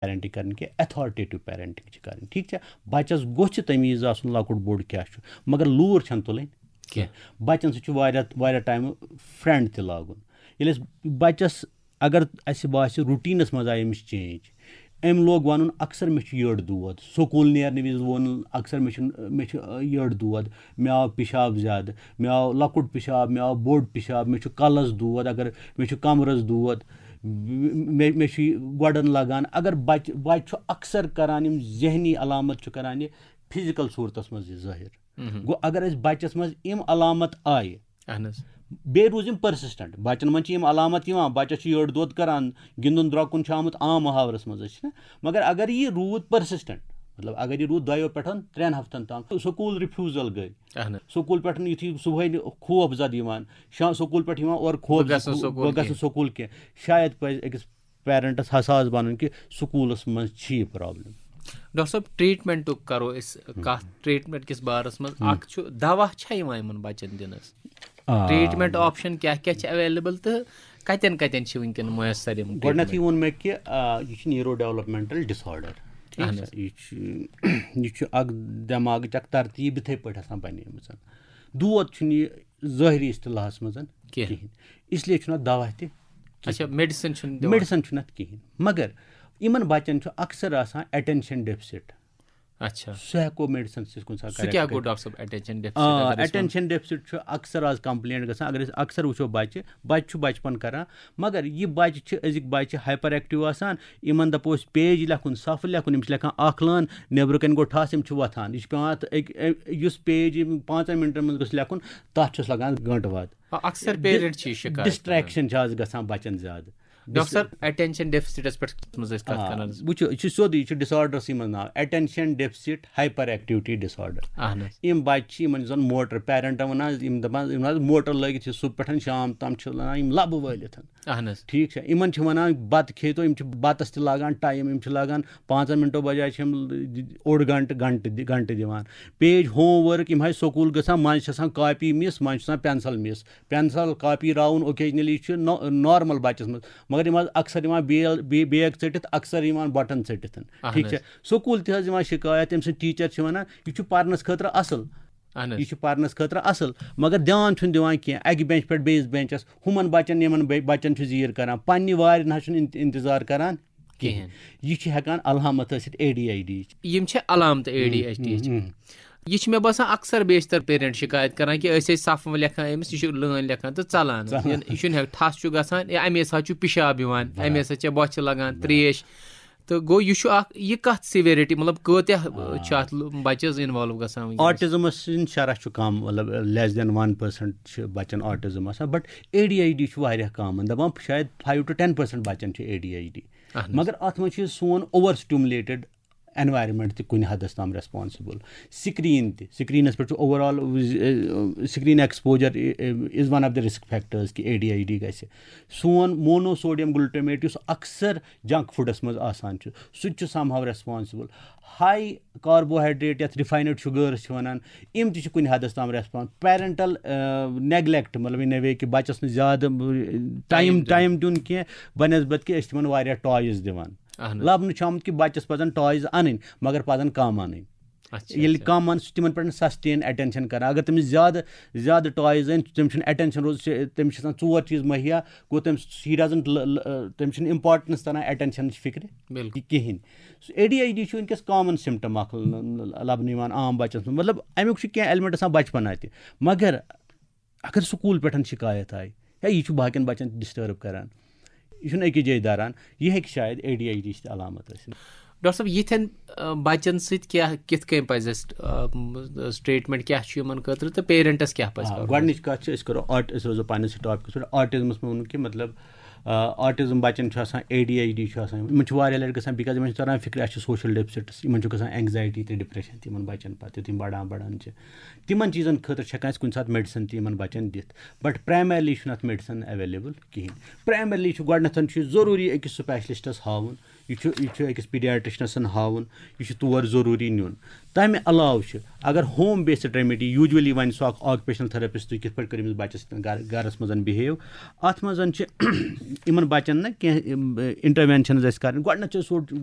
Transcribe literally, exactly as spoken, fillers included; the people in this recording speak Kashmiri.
پیرنٹنگ کرٕنۍ کینٛہہ، اتھارٹیٹو پیرنٹنگ چھِ کرٕنۍ، ٹھیٖک چھا؟ بچس گوٚژھ یہِ تمیٖز آسُن لۄکُٹ بوٚڑ کیٛاہ چھُ، مگر لوٗر چھَنہٕ تُلٕنۍ کینٛہہ۔ بچن سۭتۍ چھُ واریاہ واریاہ ٹایمہٕ فرینڈ تہِ لاگُن۔ ییٚلہِ أسۍ بچس، اگر اَسہِ باسہِ روٹیٖنس منٛز آیہِ أمِس چینج، أمۍ لوگ وَنُن، اکثر مےٚ چھُ یٔڈ دود، سکوٗل نیرنہٕ وِزِ ووٚن اکثر مےٚ چھُ، مےٚ چھُ یٔڈ دود، مےٚ آو پِشاب زیادٕ، مےٚ آو لۄکُٹ پِشاب، مےٚ آو بوٚڑ پِشاب، مےٚ چھُ کَلَس دود، اگر مےٚ چھُ کَمرَس دود، مےٚ، مےٚ چھُ یہِ گۄڈَن لَگان۔ اگر بَچہِ، بَچہِ چھُ اکثر کَران، یِم ذہنی علامت چھُ کَران یہِ فِزیکَل صوٗرتَس منٛز یہِ ظٲہِر۔ مہم۔ گوٚو اگر أسۍ بَچَس منٛز یِم علامت آیہِ، اہن حظ۔ بیٚیہِ روٗز یِم پٔرسِسٹنٹ، بَچَن منٛز چھِ یِم علامت یِوان، بَچَس چھُ یٔڈ دود کَران، گِنٛدُن درٛۄکُن چھُ آمُت عام محاورَس منٛز، أسۍ چھِنہ، مگر اگر یہِ روٗد پٔرسِسٹنٹ، مطلب اگر یہِ روٗد دۄیو پٮ۪ٹھ ترٛٮ۪ن ہفتَن تام، سکوٗل ریفیوزل گٔے۔ اہن حظ۔ سکوٗل پٮ۪ٹھ یُتھُے صُبحٲے خوف زد یِوان، شا-، سکوٗل پٮ۪ٹھ یِوان اورٕ خوف بہٕ گژھٕ نہٕ زِ-، سکوٗل بہٕ گژھٕ نہٕ کینٛہہ۔ سکوٗل کینٛہہ۔ شاید پَزِ أکِس پیرنٹس حساس بَنُن کہِ سکوٗلَس منٛز چھِ یہِ پرابلم۔ ڈاکٹر صٲب، ٹریٹمنٹُک کرو أسۍ کتھ، ٹریٹمنٹ کِس بارس منٛز۔ ہم۔ اکھ چھُ، دوا چھا یِوان یِمن بچن دِنس؟ آ۔ ٹریٹمنٹ آپشن کیٛاہ کیٛاہ چھِ اویلیبل تہٕ کتٮ۪ن کتٮ۪ن چھِ وٕنکیٚن میسر یِم گۄڈٕنیتھٕے ٹریٹمنٹ؟ ووٚن مےٚ کہِ، آ، یہِ چھُ نیورو ڈیولپمنٹل ڈس آرڈر، ٹھیٖک اہن چھا؟ حظ۔ یہِ چھُ، یہِ چھُ اکھ دٮ۪ماغٕچ اکھ ترتیٖب یِتھے پٲٹھۍ آسان بنیمٕژ۔ دود چھُنہٕ یہِ ظٲہری اصطلاحس منٛز کینٛہہ۔ کِہیٖنۍ۔ اس لیے چھُنہٕ اَتھ دوا تہِ کِہیٖنۍ۔ اچھا، میڈیسن چھُنہٕ دِوان؟ میڈیسن چھُنہٕ اَتھ کِہیٖنۍ۔ مگر یِمن بچن چھُ اکثر آسان اٹینشن ڈیفسٹ۔ اچھا۔ سُہ ہٮ۪کو میڈیسن سۭتۍ کُنہِ ساتہٕ سُہ کریکٹ کیٛاہ گوٚو، کٔرِتھ۔ ڈاکٹر صٲب، اٹینشن ڈیفسٹ آ، اگر أسۍ وَنو؟ اٹینشن ڈیفسٹ چھُ اکثر آز کمپلینٹ گژھان۔ اگر أسۍ اکثر وٕچھو، بچہِ، بچہِ چھُ بچپن کران، مگر یہِ بچہِ چھِ، أزِکۍ بچہِ ہایپر ایکٹیو آسان، یِمن دپو أسۍ پیج لیکھُن، صفہٕ لیکھُن، یِم چھِ لیکھان اکھ لٲن، نیبرٕ کنہِ گوٚو ٹھس، یِم چھِ وۄتھان۔ یہِ چھُ پٮ۪وان اَتھ أکۍ، أ-، یُس پیج یِم پانٛژن منٹن منٛز گوٚژھ لیکھُن، تَتھ چھُس لگان گٲنٛٹہٕ واد۔ آ، اکثر ڈِ-، پیرنٹ چھِ یہِ شِکایت کران۔ ڈسٹریکشن چھِ آز گژھان بچن زیادٕ۔ ڈاکٹر صٲب، اٹینشن ڈیفسٹس پٮ۪ٹھ کتھ منٛز أسۍ کتھ آ، کران۔ وٕچھِو، یہِ چھُ سیوٚدُے، یہِ چھُ ڈس آرڈرسٕے منٛز ناو، اٹینشن ڈیفسٹ ہایپر ایکٹیوٹی ڈس آرڈر۔ اہن حظ۔ یِم بچہِ چھِ، یِمن یُس زن موٹر، پیرنٹن ونان، یِم دپان، یِم حظ موٹر لٲگِتھ چھِ صبح پٮ۪ٹھ شام تام چھِ لگان یِم لبہٕ وٲلِتھ۔ اہن حظ۔ ٹھیٖک چھا؟ یِمن چھِ ونان بتہٕ کھیٚیتو، یِم چھِ بتس تہِ لاگان ٹایم، یِم چھِ لاگان پانٛژن منٹو بجایہِ چھِ یِم اوٚڑ گنٹہٕ، گنٹہٕ دِ-، گنٹہٕ دِوان۔ پیج ہوم ورک، یِم حظ سکوٗل گژھان، منٛزٕ چھِ آسان کاپی مِس، منٛزٕ چھُ آسان پینسل مِس۔ پینسل کاپی راوُن اوکیجنلی چھُ نو-، نارمل بچس منٛز، مگر یِم حظ اکثر یِوان بیل-، بے-، بیگ ژٔٹِتھ، اکثر یِوان بٹن ژٔٹِتھ۔ اہن ٹھیٖک چھا؟ حظ۔ سکوٗل تہِ حظ یِوان شکایت، تٔمۍ سٕنٛدۍ ٹیٖچر چھِ ونان، یہِ چھُ پرنس خٲطرٕ اصل۔ اہن حظ۔ یہِ چھُ پرنس خٲطرٕ اصل، مگر دیان چھُنہٕ دِوان کینٛہہ، اکہِ بینچ پٮ۪ٹھ بیٚیِس بینچس، ہُمن بچن، یِمن بے-، بچن چھُ زیٖر کران، پننہِ وارِ نہ حظ چھُنہٕ انت-، انتظار کران کِہیٖنۍ۔ کِہیٖنۍ۔ یہِ چھِ ہٮ۪کان علامت ٲسِتھ اے ڈی آی ڈی۔ یِم چھِ علامتہٕ اے ڈی ایچ ڈی ہٕچ۔ ہم، ہم۔ یہِ چھِ مےٚ باسان اکثر بیشتر پیرنٹ شکایت کران کہِ أسۍ ٲسۍ صفہٕ لیکھان أمِس، یہِ چھُ لٲنۍ لیکھان تہٕ ژلان۔ ژلان۔ یہِ، یہِ چھُنہٕ ہٮ۪کان، ٹھس چھُ گژھان، یا اَمے ساتہٕ چھُ پِشاب یِوان، بَرابر۔ اَمے ساتہٕ چھےٚ بۄچھِ لگان، بَرابر۔ ترٛیش۔ تہٕ گوٚو، یہِ چھُ اکھ، یہِ کتھ سیویرٹی، مطلب، کۭتیاہ، آ۔ چھِ اتھ لُ-، بچہِ حظ انوالو گژھان وٕنکیٚنس؟ آٹزمس ہٕنٛز شرح چھُ کم، مطلب، less than one percent چھِ بچن آٹزم آسان، but A D I D چھُ واریاہ کم، دپان شاید five to ten percent بچن چھُ اے ڈی آی ڈی۔ اہن حظ۔ مگر اتھ منٛز چھُ سون اوور سٹیمولیٹڈ انوائرمنٹ تہِ کُنہِ حدس تام ریسپانسبل۔ سکرین تہِ، سکرینس پٮ۪ٹھ چھُ over all, screen exposure is one of the risk factors کہِ اے ڈی آی ڈی گژھِ۔ سون مونو سوڈیم گلوٹمیٹ، یُس اکثر جنک فوڈس منٛز آسان چھُ، سُہ تہِ چھُ سم ہاو ریسپانسبل۔ ہاے کاربوہائیڈریٹ، یتھ ریفائنڈ شوگرز چھِ ونان، یِم تہِ چھِ کُنہِ حدس تام ریسپانس۔ پیرنٹل نیگلیکٹ، مطلب، in a way کہِ بچس نہٕ زیادٕ ٹایم، ٹایم دیُن۔ ٹایم دیُن کینٛہہ، بنسبت کہِ أسۍ چھِ تِمن واریاہ ٹوائز دِوان۔ اہن حظ۔ لبنہٕ چھُ آمُت کہِ بچس پزن ٹوائز انٕنۍ، مگر پزن کم انٕنۍ۔ اچھا، ییٚلہِ اچھا۔ کم انہٕ، سُہ تِمن پٮ۪ٹھ سسٹین اٹینشن کران۔ اگر تٔمِس زیادٕ، زیادٕ ٹوائز أنۍ، تٔمِس چھُنہٕ اٹینشن روز، تٔمِس چھِ آسان ژور چیٖز مہیا، گوٚو تٔمِس، he doesn't ل-، ل-، تٔمِس چھُنہٕ امپورٹنس تران اٹینشنٕچ فکرِ بِلکُل۔ کِہیٖنۍ۔ اے ڈی آی ڈی چھُ وٕنکیٚس کامن سمٹم اکھ ل-، ل-، لبنہٕ یِوان عام بچن منٛز۔ مطلب، امیُک چھُ کینٛہہ ایلمنٹ آسان بچپنا تہِ، مگر اگر سکوٗل پٮ۪ٹھ شکایت آیہِ، یا یہِ چھُ باقین بچن تہِ ڈسٹرب کران، یہِ چھُنہٕ أکِس جایہِ داران، یہِ ہیٚکہِ شاید اے ڈی آی ڈی ہٕچ تہِ علامت ٲسِتھ۔ ڈاکٹر صٲب، یِتھٮ۪ن، آ، بچن سۭتۍ کیٛاہ، کِتھ کٔنۍ پزِ اَسہِ، آ، م-، ٹریٹمنٹ کیٛاہ چھُ یِمن خٲطرٕ تہٕ پیرنٹس کیٛاہ پزِ آ، کرُن؟ گۄڈٕنِچ کتھ چھِ، أسۍ کرو آرٹ-، أسۍ روزو پننِسٕے ٹاپکس پٮ۪ٹھ۔ آٹزمس منٛز ووٚنُم کہِ، مطلب، آ، آٹزم بچن چھُ آسان، اے ڈی آی ڈی چھُ آسان، یِمن چھُ واریاہ لٹہِ گژھان، because یِمن چھُ تران فکرِ، اَسہِ چھُ سوشل ڈیفسٹس، یِمن چھُ گژھان اینگزایٹی تہٕ ڈپریشن تہِ یِمن بچن پتہٕ، یُتھ یِم بڑان بڑان چھِ۔ تِمن چیٖزن خٲطرٕ چھِ ہٮ۪کان أسۍ کُنہِ ساتہٕ میڈیسن تہِ یِمن بچن دِتھ، but primarily چھُنہٕ اتھ میڈیسن اویلیبل کِہینۍ۔ پرائمرلی چھُ گۄڈٕنیتھ چھُ یہِ ضروٗری أکِس سپیشلسٹس ہاوُن، یہِ چھُ، یہِ چھُ أکِس پیڈیاٹرشنسن ہاوُن، یہِ چھُ تور ضروٗری نیُن۔ تَمہِ علاوٕ چھُ، اگر ہوم بیسڈ ریمیڈی، یوٗجولی وَنہِ سُہ اکھ آکوپیشنل تھراپسٹ، تُہۍ کِتھ پٲٹھۍ کٔرِو أمِس بچس گرٕ، گرس منٛز بِہیو، اتھ منٛز چھِ یِمن بچن نہ کینٛہہ انٹروینشنز اَسہِ کرٕنۍ۔ گۄڈٕنیتھ چھُ سُہ